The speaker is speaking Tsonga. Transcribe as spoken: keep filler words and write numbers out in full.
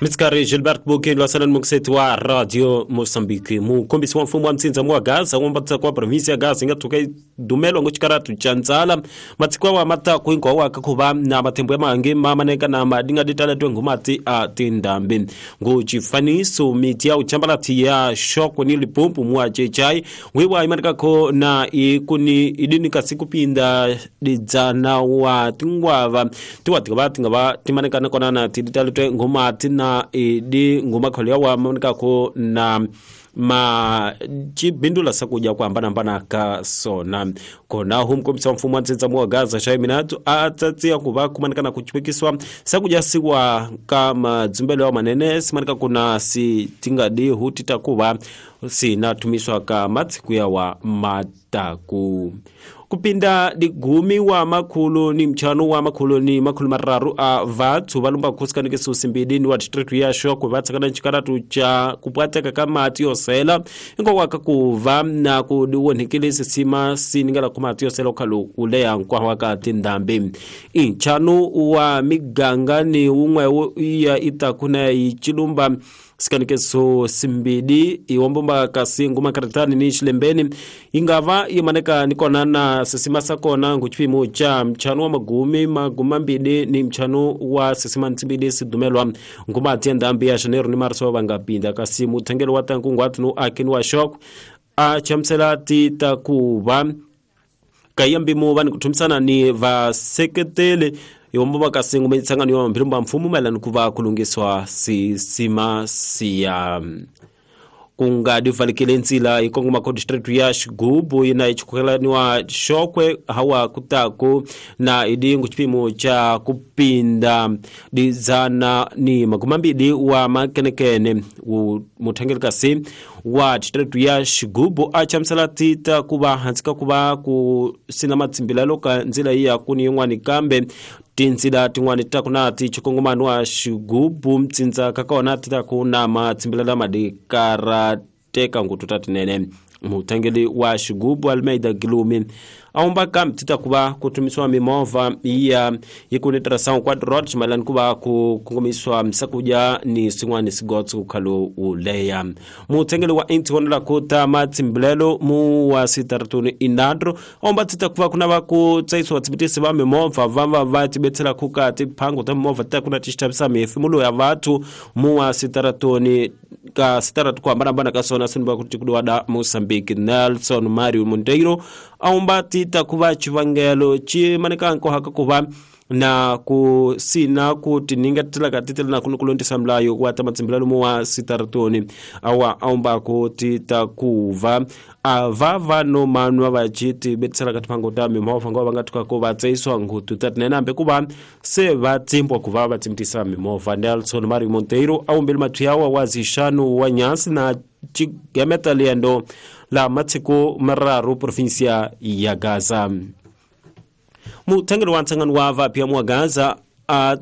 Mitsikari Gilbert Bukeni lwasalan mukiseti wa Radio Mozambique mukombisi wa mfumo wa mtsindza wa Gaza wombatsa kwa provinsi ya Gaza inga tuka dumelo ngo chikaratu cha nzala matsikwa wa mataku hinkwawo wa kakhuva na mathembo ya mahange mamaneka na madinga ditaletwe ngumati a tindambi ngo chifaniso miti ya uchambalati ya shoko ni Limpopo mwa chechai wiwa imanikako na ikuni idini kasikupinda didzana wa tingwava tiwa tikava tingava timanekana kona na tiditaletwe ngumati na idi ngumakholo wa manikako na ma chibindula sakuja kwa hambana ka sona kona humkomisa wa mfumo wa ntsindza wa Gaza shaiminatu atsatsia kuva kumanikana kuchipikiswa sakuja siwa ka madzumbelo wa manene simanika kuna si tingadi hutita kuva sinatumiswa ka matsiku ya wa mataku kupinda digumi wa makhulu ni mchano wa makhulu ni makhulu mararu a vathu valumba khusikanike susimbili wa district ya Shokwe vatsakana chikaratu cha kupwateka ka mati yosela inkokwaka kuva na kudiwonhekele sisima siningela ku mati yosela okhalu uleya nkwawa ka tindhambi inchano wa miganga ni wun'we ya itakuna yichilumba sikanikeso simbidi iwombomba kasi nguma karatani ni xilembeni ingava yimaneka nikona na sisima sakona nguchipimo cha mchano wa magumi maguma mbili ni mchano wa sisima ntsimbili sidumelwa nguma tiendambi ya Janeiro ni Marso vangapinda kasi muthengelo wa tankungwati no akini wa shok a chamsela ti takuva kayambimu vani kuthumisana ni vaseketeli iwombo kasi ngumetsangano wa mphilumba mfumo mayelana kuva kulungiswa sisima siya kungadivalikile ntsila ikongoma ko district ya Xigubu yina ichikhukelaniwa Xokwe hawa kutaku na idingu chipimo cha kupinda dizana ni maguma mbili wa makenekene muthangeli kasi wa district ya Xigubu achamsela tita kuva hansi kuva ku sina matsimbilelo ka ndzila iya kuni yin'wani kambe tinzila tin'wani ta kuna ti chikongomano wa Xigubu mtsindza kakona ti ta ku na matsimbilelo madikarateka ngutu ta tinene muthangeli wa Xigubu Almeida Glumi aumba kambi ti ta kuva ku tumisiwa mimovha iya yi tirhisa quadrot mayelana kuva ku kongomiswa msakuja ni swin'wana swigotso kukhalo uleya muthengeli wa intionela ku ta matsimbilelo mu wa sitaratuni inandro aumba ti ta kuva kuna va ku tsayisiwa tsibitisi va mimovha va va va tibetsela ku ka tiphango ta mimovha ta kuna tixavisa mihefimulo ya vathu mu wa sitaratuni ka sitaratu ku hambanahambana ka sona sinva ku tikudiwa da Mozambique Nelson Mario Monteiro aumba tita kuva chivangelo chimanika nkohaka kuva na ku sina ku tiningatela ka titela na kunukulondisa mlayo wa ta matsimbilelo mu wa sitaratoni awa aumba ku tita kuva ava va no manwa va chiti betsela ka tiphango ta mimovha ngo va nga tuka ku va tsayisiwa ngutu ta tinene hambi ku va se va tsimbwa ku va va tsimtisa mimovha Nelson Mario Monteiro aumbile mathu wa zixano wa nyasi na chigemeta liendo la matsiko mararu provincia ya Gaza muthangeli wa ntsangano wa vapya mwa Gaza a